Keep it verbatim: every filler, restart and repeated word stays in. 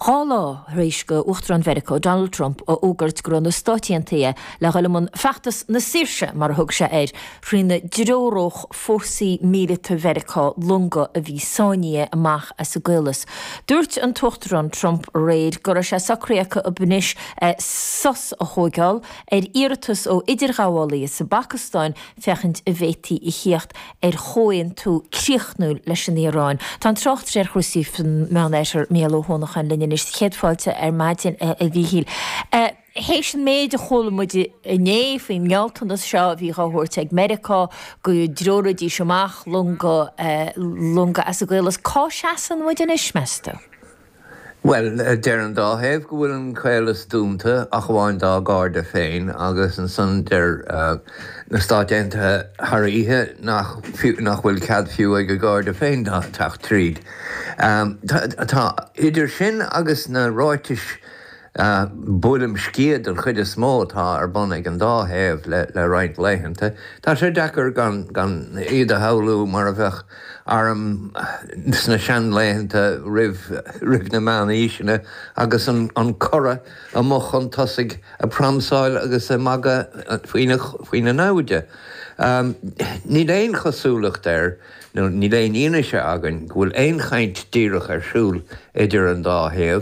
Dhá lá tar éis do Uachtarán Mheiriceá Donald Trump a fhógairt go raibh na Stáit Aontaithe le dhul i mbun feachtas na saoirse mar a thug sé air trína dtreoródh fórsaí míleata Mheiriceá longa a bhí sáinnithe amach as an gcaolas. Dúirt an tUachtarán Trump aréir go raibh sé socraithe acu anois sos a thógáil ar iarratas ó idirghabhálaithe sa bPacastáin féachaint an bhféadfaí a theacht ar chomhaontú críochnúil leis an Iaráin. Tá an tráchtaire ar chúrsaí san Meánoirthear Mícheál Ó hUanacháin linn anois céad fáilte ar maidin a Mhíchíl. Théis an méid a chuala muid inné faoin ngealltanas seo a bhí á thabhairt ag Meiriceá go dtreoróidís amach longa longa as an gcaolas, cá seasann muid anois meas tú? Bhuel, deir an dá thaobh go bhfuil an caolas dúnta ach amháin dá gcairde féin agus ansan deir na Stáit Aontaithe thar oíche nach nach bhfuil cead fiú ag a gcairde féin teacht tríd. Tá idir sin agus na ráitis buaileam sciath den chuid is mó atá ar bun ag an dá thaobh le le roinnt laethanta. Tá sé deacair gan gan iad a shamhlú mar a bheadh arm sna seanlaethanta roimh roimh na meánaoiseanna agus an an curadh amuigh chun tosaigh ag pramsáil agus ag magadh faoina faoina naimhde. Níl aon chosúlacht air nó níl aon fhianaise againn go bhfuil aon chaint díreach ar siúl idir an dá thaobh.